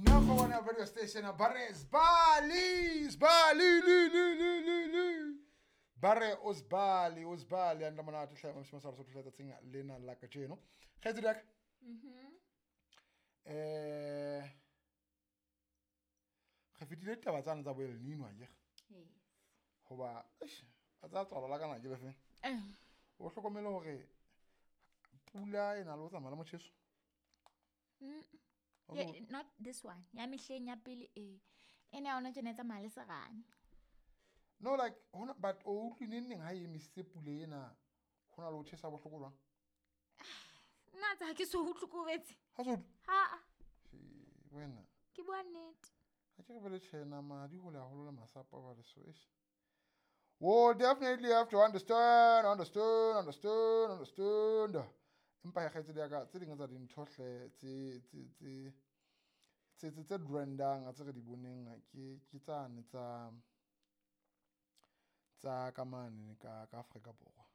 Number one radio station ba re sbali sbali li li li li li ba re o sbali o sbali a nna monate hle mashimo sa re sotho tsatsing lena la kajeno kgaitsedi ya ka. Re fetile ditaba tsane tsa bo El Nino akere? Yes. Hoba eish, a tsaya tswalo la kana ke le feng? O hlokomele hore pula e na le ho tsamaya le motjheso? Yeah, not this one. Ya mehleng ya pele e. Ene ya hona tjena e tsamaya le serame. No, like hona, but o utlwi neng neng ha e emisitse pula ena, ho na le ho tjhesa bohloko jwang? Nna tsa ha ke so utlwe ko betse. Ha so utlwe? Ha. She, wena. Ke bua nnete. Ha ke re bele tjhe nama di hole haholo le masapo a ba leso, eish. We'll definitely have to understand, understand, understand, understand. Empa ya kgaitsedi ya ka, tse ding tsa dintho hle, tse brandang, tse re di boneng, ke tsane tsa ka mane ka Afrika Borwa.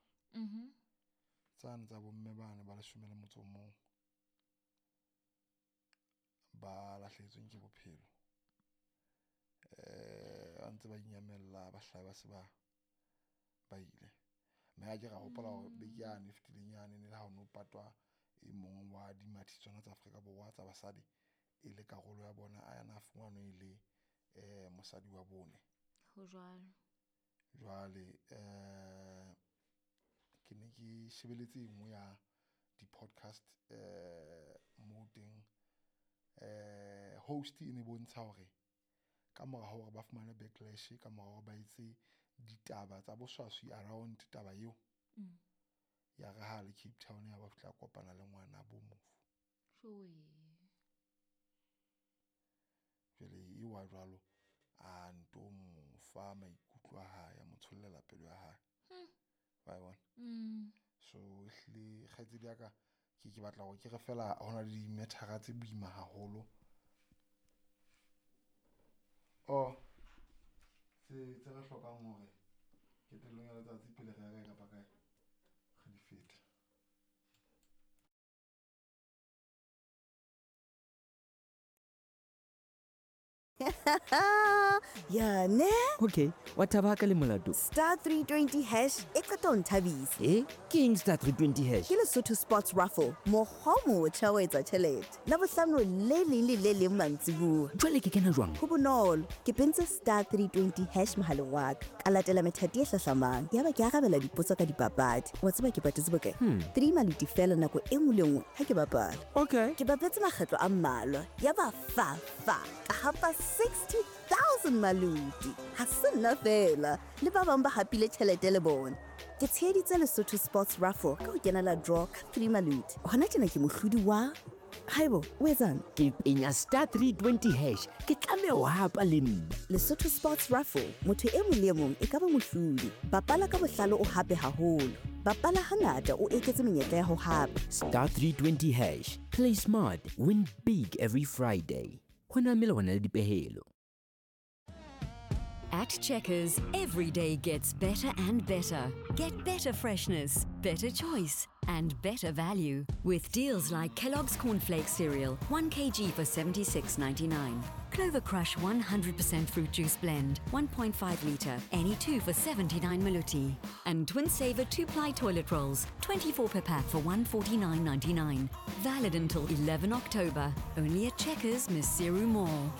Tsane tsa bomme bane ba 11 ba lahlehetsweng ke bophelo. Ba ntse ba inyamella, ba hlaha ba se ba ile. Mme ha ke ra hopola hore beke yane e fetileng yane ne le ha ho no patwa e mong wa dimathi tsona tsa Afrika Borwa tsa basadi e le karolo ya bona, a yana fumanwe e le mosadi wa bone. Ho jwalo. Jwale ke ne ke shebeletse e nngwe ya di-podcast moo teng host e ne bontsha hore ka mora hore ba fumane backlash, ka mora hore ba etse ditaba tsa boswaswi around taba eo. Ya re ha le Cape Town ya ba fihla kopana le ngwana bo mofu. Jwale e wa jwalo a nto mo fa maikutlo a hae, a mo tshollela pelo ya hae. Wa e bona? So ehlile kgaitsedi ya ka ke batla hore ke re fela hona le dimethara tse boima haholo. Oh, tse re hlokang hore qetellong ya letsatsi pele re ya kae kapa kae re di fete. Ya ne? Okay, wa thaba ka le molato. Star 320 hash e qeta ho nthabisa. Ke eng star 320 hash? Ke Lesotho Sports Raffle, mokgwa o motjha wa etsa tjhelete. Labohlano le leng le le leng mantsibuya. Jwale ke kena jwang? Ho bonolo, ke pentse star 320 hash mohaleng wa ka. Ka latela methati e hlahlamang. Yaba ke arabela dipotso ka dipapadi. Wa tseba ke patetse bokae? 3 maluti fela nako e nngwe le nngwe ha ke bapala. Okay. Ke bapetse makgetlo a mmalwa. Yaba fa fa ka hapa 60,000 maluti. Ha se nna fela, le ba bang ba hapile tjhelete le bona. Ke tsheheditse Lesotho Sports Raffle ka ho kenela draw ka 3 maluti. Hona tjena ke mohlodi wa Haibo, o etsang? Ke penya star 320 hash, ke tlameha ho hapa le nna. Lesotho Sports Raffle, motho e mong le e mong e ka ba mohlodi. Bapala ka bohlale o hape haholo. Bapala hangata o eketse menyetla ya ho hapa. Star 320 hash, play smart, win big every Friday. Ho na melawana le dipehelo. At Checkers, every day gets better and better. Get better freshness, better choice, and better value. With deals like Kellogg's Cornflakes cereal, 1 kg for $76.99. Clover Crush 100% fruit juice blend, 1.5 litre, any two for 79 maluti. And Twin Saver 2-ply toilet rolls, 24 per pack for $149.99. Valid until 11 October. Only at Checkers, Maseru Mall.